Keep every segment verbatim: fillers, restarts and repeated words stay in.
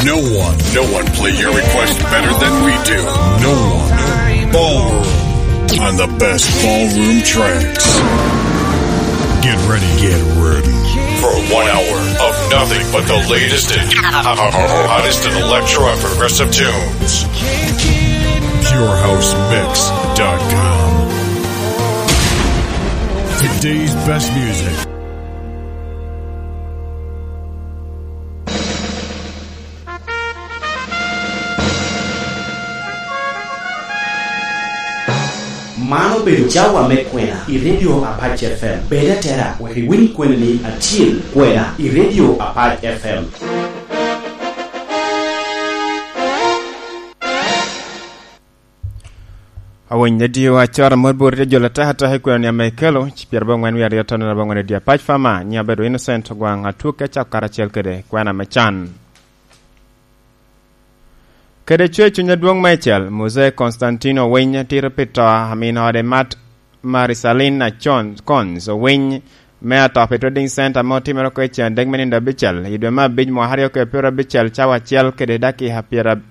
No one, no one play your request better than we do. No one. Ballroom on the best ballroom tracks. Get ready, get ready for one hour of nothing but the latest and hottest in electro and progressive tunes. Pure House Mix dot com. Today's best music. Man obedo cawa me kwena i Radio Apac F M. Bed atera, wek iwiny kweni acil, kwena i Radio Apac F M. Awiny, radio acora mot bot jo ataka ataka i kwena ni ame ikelo, ci pyerabongwen wie aryo tono abongwen radio Apac Fama, nyiŋa abedo Innocent Ogwaŋ Atwok, acako karacel kede kwena me can. Kede cwer cuny adwoŋ meicel, Muzee Constantino Owiny tito pi to a min ode Mat Marisalina Con-, Cons Owiny me atop i Trading Center ame otimere oko i cen adek me nino abicel i dwe me abic mwaka aryo kede pyero abicel cawa acel kede dakika pyera-,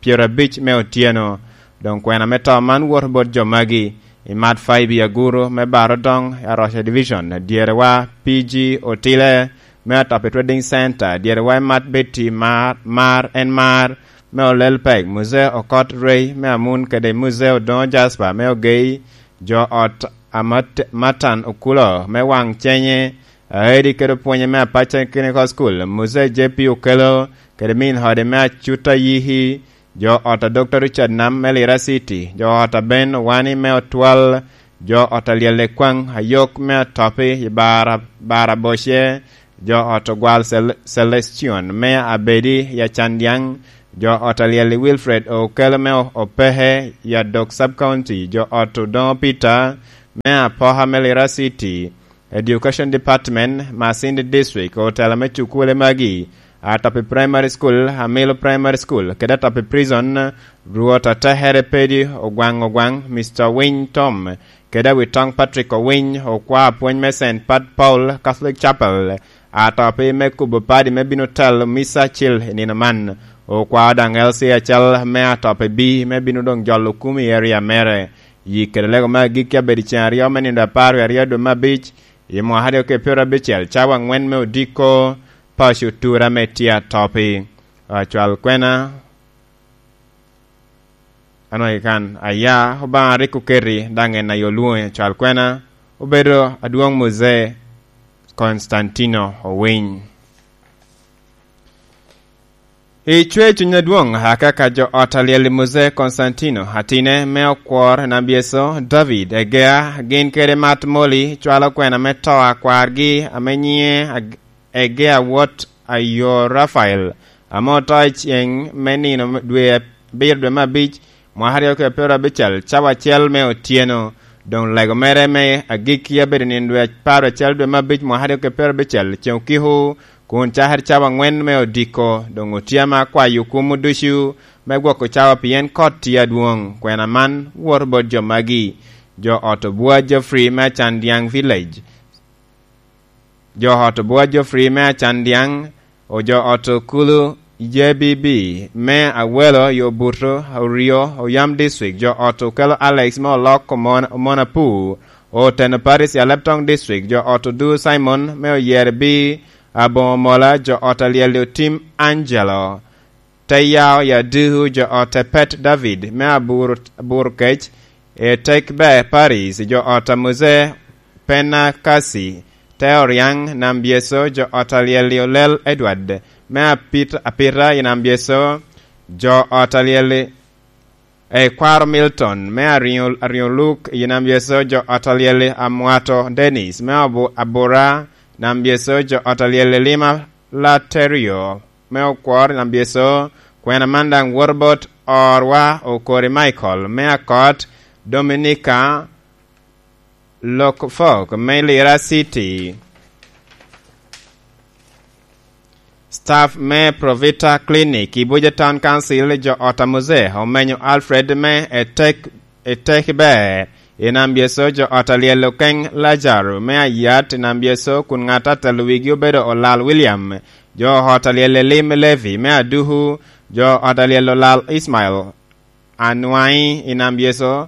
pyerabic me otyeno. Doŋ kwena me to man woto bot jo magi: i Mat Faibi Aguru me Barodoŋ i Aroca Division, dyerewa P G Otile me atop i Trading Center, dyerewa i Mat Betty Mar, Mar en Mar me Olel Pek, Muzee Okot Rey me Amun kede Muzee Odoŋo Jasper me Ogei, jo ot a Mat-, Matan Okulo me Waŋ Cenye, Aedi kede opwonye me Apac Technical School, Muzee J P Okelo kede min ode me Acuta Yihi, jo ot a Doctor Richard Nam me Lira City, jo ot a Ben Owani me Otwal, jo ot a Lyel Ekwaŋ Ayok me Atopi i Bara, Bara Boce, jo ot Ogwal Cel-, Celestion me Abedi i Acandyaŋ, jo ot a Lyel Wilfred Okelo me O-, Opehe i Adok Sub County, jo ot Odoŋo Peter me Apoka me Lira City, Education Department, Masindi District, otela me cukule magi, Atapi Primary School, Amilo Primary School, kede Atapi Prison, Rwot Atekere Pedi Ogwaŋ Ogwaŋ, Mister Winy Tom, kede Awitoŋ Patrick Owiny, okwa apwony me Saint Pat Paul Catholic Chapel, Atapi me kubo padi me bino telo misa acil i nino man, okwa daŋ L C acal me Atapi B me bino doŋ jolo kum i area mere. Yik kede lego me agikki abedo i ceŋ aryo me nino apar wie aryo dwe me abic, i mwaka aryo kede pyero abicel, cawa aŋwen me odiko, paco tura me tye Atopi. Acwal kwena, anwagi kan, aya, Obaŋa rik oketi, daŋ en aye olwoŋi. Acwal kwena obedo adwoŋ Muzee Constantino Owiny. I cwer cuny adwoŋ, akaka jo ot a Lyel i Muzee Constantino, atine me okwor Nambyeco David Egea, gin kede Mat Moli cwalo kwena me to a kwargi ame nyiŋe Ag-, Egea wot Ayo Rafael, ame oto i ceŋ me nino dwe abiro dwe me abic, mwaka aryo kede pyero abicel, cawa acel me otyeno. Doŋ lego mere me agikki abedo nino dwe apar acel dwe me abic mwaka aryo kede pyero abicel, ceŋ okiko, kun cakere cawa aŋwen me odiko. Doŋ otye ame akwayo kumo ducu me gwoko cawa, pien kot tye adwoŋ. Kwena man woto bot jo magi: jo ot Obua Geoffrey me Acandyaŋ Village, jo ot Obua Geoffrey me Acandyaŋ, o jo ot Okulu J B B me Awelo i Obuto, Oryo, Oyam District, jo ot Okelo Alex me Olok Omon-, Omonapu, Oteno Paris i Aleptong District, jo ot Odu Simon me Oyerbi, Aboŋo Mola, jo ot a Lyel Otim Angelo, Te Yao i Aduku, jo ot Epet David me Abur-, Aburkec, Etek Ber Paris, jo ot a Muzee Penakasi, Te Oriaŋ Nambyeco, jo ot a Lyel Olel Edward me Apit-, Apita i Nambyeco, jo ot a Lyel Ekwaro Milton me Ariŋo-, Ariŋoluk i Nambyeco, jo ot a Lyel Amwato Dennis me Abu-, Abura Nambyeco, jo ot a Lyel Lima Laterio me Okwor Nambyeco. Kwena man daŋ woto bot orwa Okori Michael me Akot, Dominica Lokfok me Lira City, staff me Provita Clinic i Abuja Town Council, jo ot a Muzee Omenyo Alfred me Etek-, Etek Ber i Nambyeco, jo ot a Lyel Okeŋ Lazaro me Ayat i Nambyeco, kun ŋat a telo wigi obedo Olal William jo ot alyel Elim Levi me Aduku, jo ot alyel Olal Ismael Anwaŋ i Nam Yecu.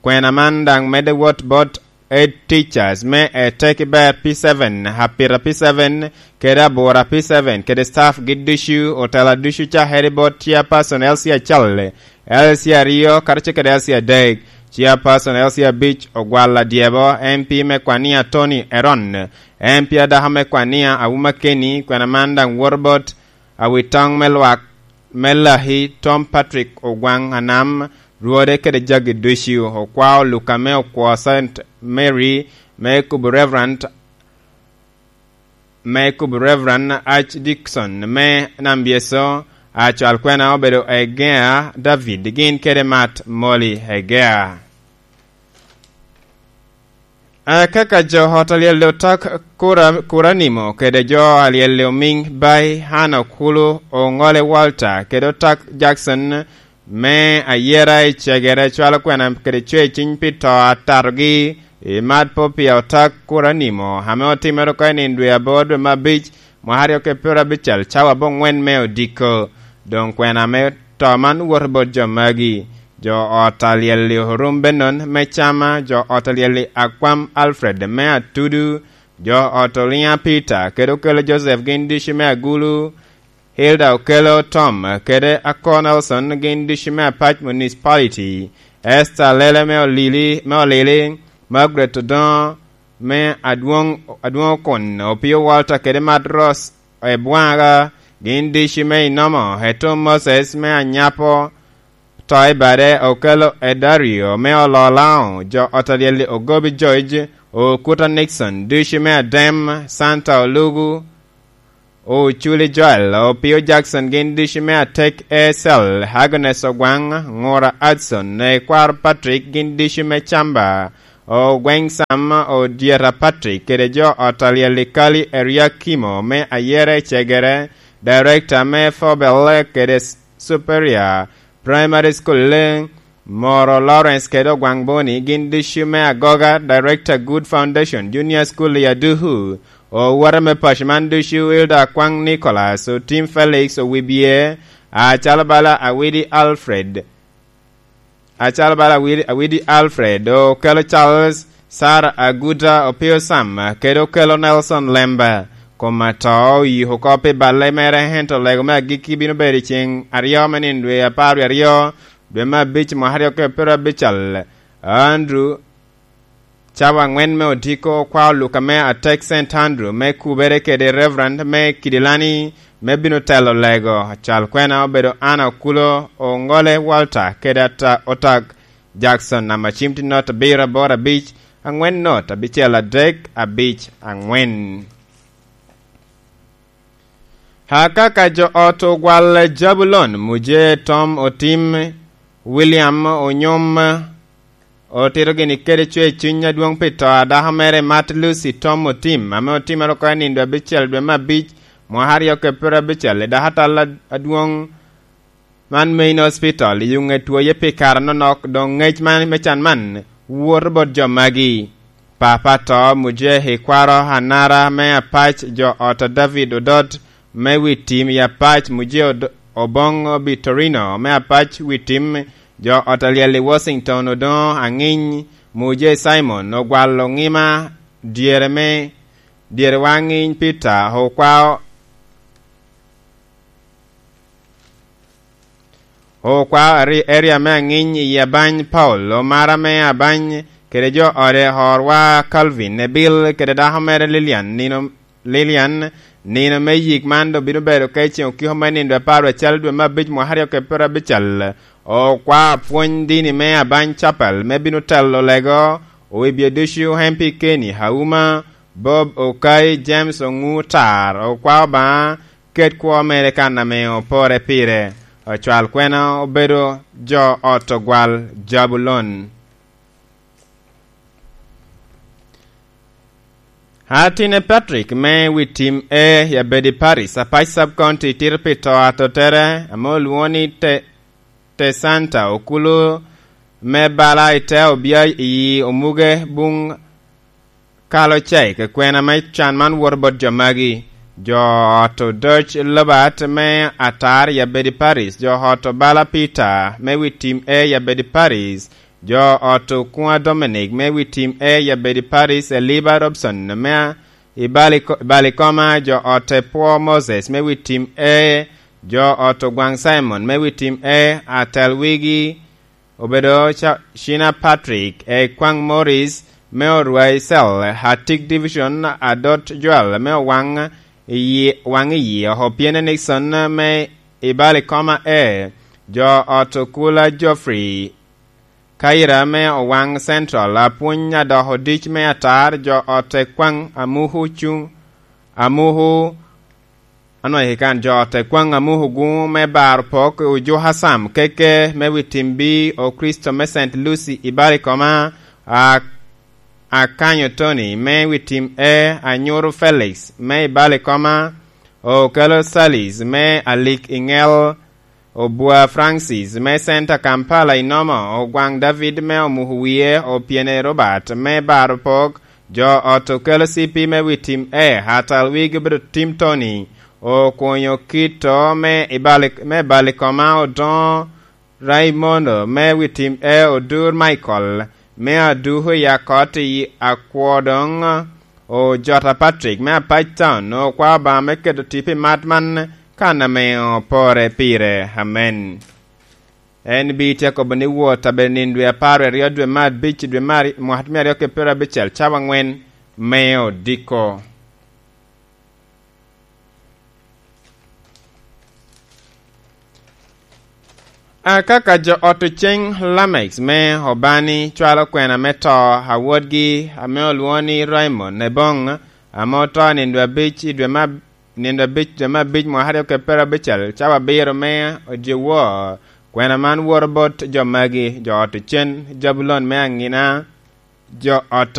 Kwena man daŋ medde wot bot head teachers me Eteki Ber P seven, Apita P seven, kede Abura P seven, kede staff gi ducu, otela ducu cakere bot chairperson L C Achal, L C aryo, karacel kede L C adek, chairperson L C abic, Ogwal Adyebo, M P me Kwania Tony Eron, M P adako me Kwania Awuma Kenny, kwena man daŋ woto bot awitoŋ me lwak me Laki Tom Patrick Ogwaŋ Anam, rwode kede jagi ducu, okwao Luka me okwo Saint Mary, me kubo Reverend, me kubo Reverend H. Dixon me Nam Byeso, acwal kwena obedo Egea David, gin kede Mat Molly Egea. Akaka jo ot alyel otak kura, kura nimo kede jo alyel omiŋ bai Hana Okulu, Oŋole Walter kede otak Jackson me ayera i cegere cwalo kwena kede cwe ciny pi to atatogi i mat po pi otak kura nimo ame otimere oko i nino dwe aboro dwe me abic mwaka aryo kede pyero abicel cawa aboŋwen me odiko. Doŋ kwena me to man woto bot jo magi. Jo ot alyel-li Orum Benon me Cama, jo ot alyel-li Akwam Alfred me Atudu, jo ot Oliŋa Peter kede Okelo Joseph gin ducu me Agulu, Hilda Okelo Tom kede Ako Nelson gin ducu me Apac Municipality, Esther Lele me Olili, me Olili, Margaret Odoŋo me Adwoŋ, Adwoŋ Okon, Opio Walter kede Mat Ross Ebwaŋa gin ducu me Inomo, Etum Moses me Anyapo, to i bade Okelo Edario me Ololao, jo ot alyel-li Ogobi George, Okuta Nixon ducu me Adem, Santa Olugu, Oculi Joel, Opio Jackson gin ducu me Atek Esel, Agnes Ogwaŋ, Ŋura Adson, Ekwaro Patrick gin ducu me Camba, Ogweŋ Sam, Odyeta Patrick kede jo ot alyel-li Kali Eriakimo me Ayera i Cegere, Director me Fobel kede Superior Primary School, Moro Lawrence kede Ogwaŋ Boni gin ducu me Agoga, Director Good Foundation Junior School i Aduku, owote me paco man ducu Hilda Akwaŋ Nicholas, Otim Felix Owibye, acalo bala Awidi Alfred, acalo bala Awidi, Awidi Alfred, Okelo Charles, Sarah Aguta, Opio Sam, kede Okelo Nelson Lemba. Kom ato oyiko oko pi balle mere, ento lego me agikki bino bedo i ceŋ aryo me nino dwe apar wie aryo, dwe me abic mwaka aryo kede pyero abicel. Andrew, cawa aŋwen me odiko, okwao Luka me Atek Saint Andrew me kubere kede Reverend me Kidilani me bino telo lego. Acal kwena obedo Anna Okulo, Oŋole Walter kede ata, Otag Jackson, namba cim tye not abiro aboro abic, aŋwen not abicel adek abic aŋwen. Akaka jo ot Ogwal Jabulon, Muje Tom Otim, William Onyom, otito gini kede cwer cuny adwoŋ pi to a dako mere Mat Lucy Tom Otim, ame otimere oko i nino dwe abicel dwe me abic, mwaka aryo kede pyero abicel, i dako atal ad-, adwoŋ man Main Hospital i Yuŋet Woye pi kare anonok. Doŋ ŋec man me can man woto bot jo magi. Papa to, Muje Ikwaro Anara me Apac, jo ot a David Odot me Witim i Apac, Muje Od-, Oboŋo Bitorino me Apac Witim, jo ot alyel i Washington Odoŋo Aŋiny, Muje Simon Ogwal Oŋima, dyere me, dyerewa Aŋiny Peter Okwao, Okwao ari-, area me Aŋiny i Abany Paul, Omara me Abany, kede jo ode Horwa Calvin, Ebil, kede dako mere Lilian, nino, Lilian, nino me yik man doŋ bino bedo ka i ceŋ okiko me nino dwe apar dwe acel dwe me abic mwaka aryo kede pyero abicel. Okwao pwony dini me Abany Chapel me bino telo lego, owibye ducu M P Kenny Auma, Bob Okai, James Oŋu Tar, okwao Obaŋa, ket kwo mere kan ame opore pire. Ocwal kwena obedo jo ot Ogwal Jabulon. Atine Patrick me Witim E i Abedi Paris, Apac Sub County, tito pi to atotere ame olwoŋo ni Te-, Tesanta Okulu me bala i te obia i Omuge Buŋ Kalo Cei. Ke kwena me can man woto bot jo magi. Jo ot Odoc Lobert me Atar i Abedi Parish, jo ot Obala Peter me wi tim A i Abedi Parish, jo ot Okwa Dominic me wi tim A i Abedi Parish, Eliba Robson me a-, i Baliko-, Balikoma, jo ot Epwo Moses me wi tim A, jo ot Ogwaŋ Simon me wi tim A, atel wigi obedo Ca-, Cina Patrick, Ekwaŋ Morris me Orwai Cell, Atik Division, Adot Joel me Owaŋ i Yi-, Waŋ i Yi, Opiene Nixon me i Balikoma A, jo ot Okula Geoffrey Kaira me Owaŋ Central, apwony adoko dic me Atar, jo ot Ekwaŋ Amuku Cuŋ, Amuku Anwai kan jo ot Ekwaŋ Amuku Guŋ me Bar Pok, Ojuka Sam Keke me wi tim B, Okristo me Saint Lucy i Balikoma, a-, Akanyo Tony me wi tim A, Anyuru Felix me i Balikoma, Okelo Salis me Alik i Ŋel, Obwa Francis me Center Kampala i Nomo, Ogwaŋ David me Omuku Wie, Opiene Robert me Bar Pok, jo ot Okelo C P me wi tim A, atal wigi obedo Tim Tony, Okwonyo Kito me i Bali-, me Balikoma, Odoŋo Raimondo me wi tim A, Odur Michael me Aduku i Akot i Akwodoŋ, Ojota Patrick me Apac Town, Okwa Obaŋa me keto tipo i mat man kan ame opore pire. Amen. En bi tye akobo ni wot abedo nino dwe apar aryo, dwe me abic, dwe me ari-, mwaka me aryo ki pyerabicel, cawa aŋwen me odiko. Akaka jo ot Oceŋ Lamex me Obani cwalo kwena me to a wodgi ame olwoŋo ni Raymond Ebong, ame oto nino dwe abic i dwe me ab-, nino dwe abic, dwe me abic mwaka aryo ki pyerabicel, cawa abiro me odyewor. Kwena man woto bot jo magi: jo ot Ocen Jabulon me Aŋina, jo ot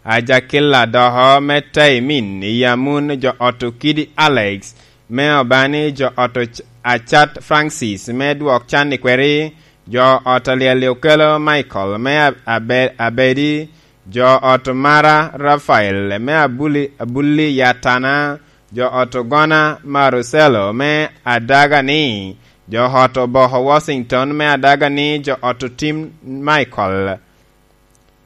Ajakilla Doho me Taimin i Yamun, jo ot Okidi Alex me Obani, jo ot Oc-, Acat Francis me Dwok Can i Kweri, jo ot Alyel Okelo Michael me A-, Abe-, Abedi, jo ot Mara Rafael me Abuli-, Abuli Yatana, jo ot Ogona Maruselo me Adagani, jo ot Oboko Washington me Adagani, jo ot Tim Michael,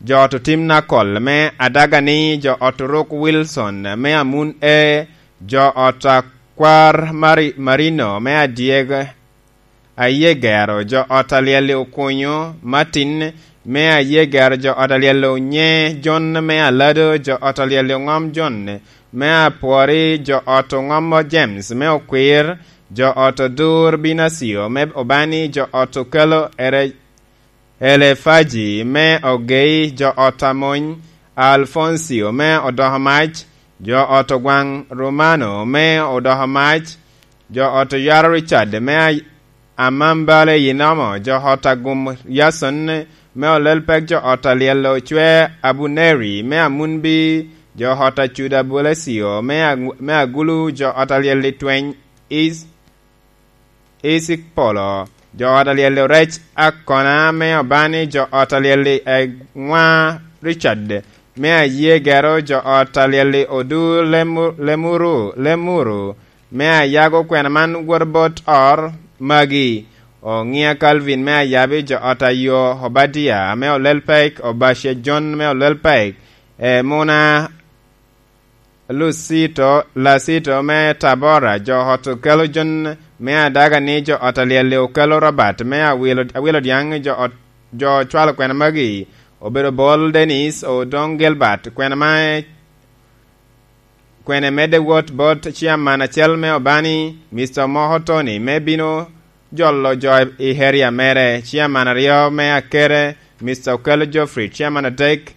jo ot Tim Nakol me Adagani, jo ot Ruk Wilson me Amun E, jo ot Akwar Mari-, Marino me Adyeg, Ayegero, jo ot Alyel Okunyo Martin me Ayegero, jo ot Alyel Onye Jon me Alado, jo ot Alyel Oŋom Jon me Apwori, jo ot Oŋomo James me Okwir, jo ot Odur Binacio me Obani, jo ot Okelo Ere-, Elefaji me Ogei, jo ot Amony Alfoncio me Odoko Mac, jo ot Ogwaŋ Romano me Odoko Mac, jo ot Oyaro Richard me A-, Amambale Yinomo, jo ot Agum Yason me Olelpek, jo ot Alyel Ocwe Abuneri me Amunbi, jo ot Acuda Bulecio me Agu-, me Agulu, jo ot Alyel Itweny Is-, Isik Polo, jo ot Alyel Orec Akona me Obani, jo ot Alyel Eŋwa Richard me Ayegero, jo ot Alyel Odu Lemu-, Lemuru, Lemuru me Ayago. Kwena man woto bot ot magi: Oŋia Calvin me Ayabi, jo ot Ayo Obadia me Olelpek, Obacia John me Olelpek, Emuna Lucito, Lacito me Tabora, jo ot Okelo Jon me Adagani, jo ot Alyel Okelo Robert me Awilo, Awilo Dyaŋ, jo ot, jo cwalo kwena magi: Obedo Bol Dennis, Odoŋ Gilbert, kwena ma, kwene medde wot bot ciaman acel me Obani, Mister Moko Tony, me bino jolo jo i area mere, ciaman aryo me Akere, Mister Okelo Geoffrey, ciaman adek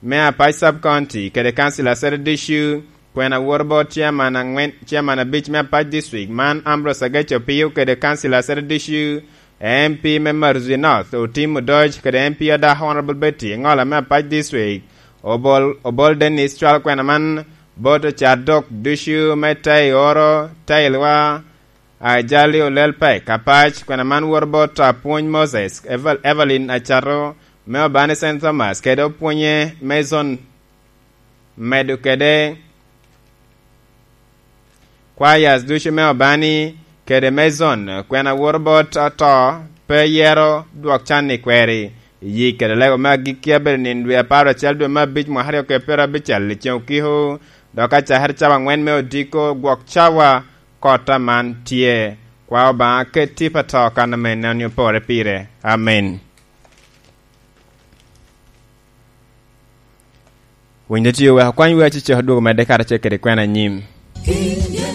me Apac Sub County kede Council Asset Issue, kwena woto bot ciaman aŋwen, ciaman abic me Apac District, man Ambrose Ageco Opio kede Council Asset Issue, M P me Maruzi North, Otim Odoc, kede M P Adak Honorable Betty Ŋola me Apac District, Obol, Obol Dennis cwalo kwena man bot ocat dok ducu me Tei Oro, Tei Lwa, Ajali Olel Pek Apac, kwena man woto bot Apwony Moses, Evel-, Evelyn Acato, me Obani Saint Thomas, kede opwonye Mason, medo kede kwayas ducu me Obani, kede me zon, kwena woro bot ato, pe yero dwok can i kweri. Iyi kede lego me agikki abedo nino dwe apar acel dwe me abic mwaka aryo kede pyerabicel i ceŋ okiko, dok acakere cawa angwen me odiko gwok cawa kota man tye. Kwa Obaŋa ket tip ato kan ame neni opore pire. Amen. Winy dotio wek okwany wer acecek odwogo medde karacel kede kwena anyim.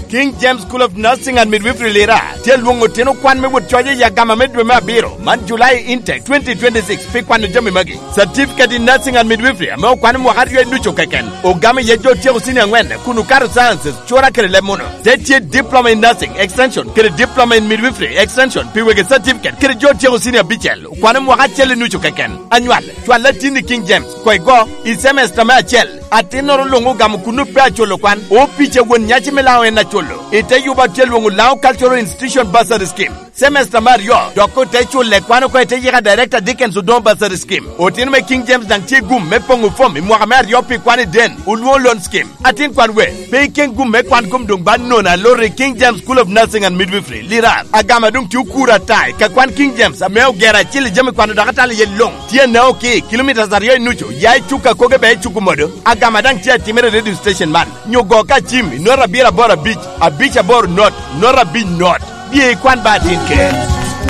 King James School of Nursing and Midwifery Lira tye lwoŋo otino kwan me wot coc i agama me dwe me abiro man July intake twenty twenty-six pi kwano jami magi. Certificate in Nursing and Midwifery ame okwano mwaka aryo i nucu keken, ogamo iye jo otyeko senior angwen kun okato sciences, cura kede leb muno. Te tye Diploma in Nursing Extension kede Diploma in Midwifery Extension pi wegi certificate kede jo otyeko senior abicel okwano mwaka acel i nucu keken. Anywal, cwal atin i King James, koi go, i semester me acel. Atinnoro luŋ ogamo kuno pe aculo kwan. Opic a won nyaci me Laŋo en aculo. I te yuba tye lwoŋo Laŋo Cultural Institution Bursary Scheme. Semester me aryo, dok ote culle kwan oko i te yika Director Dickens Odongo Bursary Scheme. Otino me King James daŋ tye gum me poŋo fom i mwaka me aryo pi kwan i den, olwoŋo loan scheme. Atin kwan we, pe iken gum me kwan kom doŋ ba nono aloro i King James School of Nursing and Midwifery, Lirar. Agama doŋ tye okuro ata i ka kwan King James ame ogero acil i jami kwano dok atalo iye luŋ. Tye anao ki kilomitas aryo i nucu, ya i cuk a koge be i cuk omodo. Agama daŋ tye atimere i radio station man. Nyo go ka cim i nota abiro aboro abic, abic aboro not, nota abic not. Bye ikwan ba atin ker.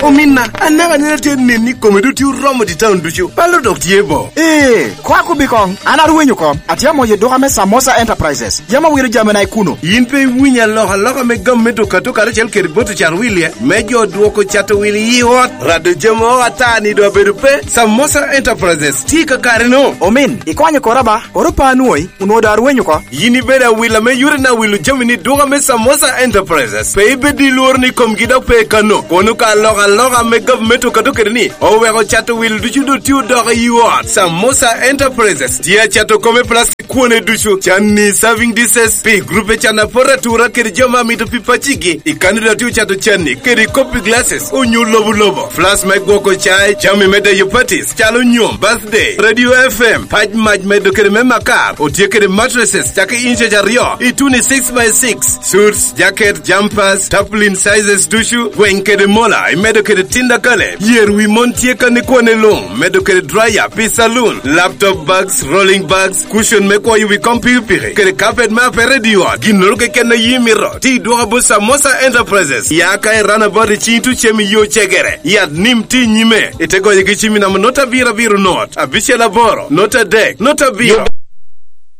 Ominna, anaka nene tye nen ni kome dutye oromo di taun ducu. Palo dok tye bo. Ee, kwak obi koŋ. An arwenyo oko. Atye amoyo duka me Samosa Enterprises. Yam awiro jamina i kuno. Yin pe iwinyo alokaloka me gam me duka duka karacel kede bot ocat wilye me jo dwoko cato wil i ot? Rado jami o ata ni do abedo pe. Samosa Enterprises tye i kakare no. Omin, ikonyo kora ba. Koro pa anwoyi, onwoŋo daŋ arwenyo oko. Yin ibedo awila me yore na wilo jami ni duka me Samosa Enterprises. Pe ibed i lworo ni komgi dok pe kano. Kono ka alokaloka me gavumenti okato kede ni oweko cato wil ducu dotye odoko i ot. Samosa Enterprises tye acato kome plastic kwone ducu, canni serving dishes, pi grupe can apot atura kede jo ma mito pi pacigi. I kani dotye ocato canni kede kopi glasses, onyo lobo lobo. Flask me gwoko cai, jami me deyo parties, calo nyom, birthday, radio F M, pac mac medo kede me makar, otye kede mattresses, cake inches aryo, ituno i six by six, suits, jacket, jumpers, tarpaulin sizes ducu, gweny kede mola, imedo kede tinda kale, yer wi mon tye kan ikwane luŋ, medo kede dryer, pi saloon, laptop bags, rolling bags, cushion me kwoyo wi kom pikipiki, kede carpet me apere i ot, ginnoro keken a yi mito, ti dwoka bot Samosa Enterprises, ya ka i runabout i cing tucem i yo cegere, yat nim ti nyime, ite goyo gi cim i namba nota abiro abiro not, abicel aboro, nota adek, nota abiro.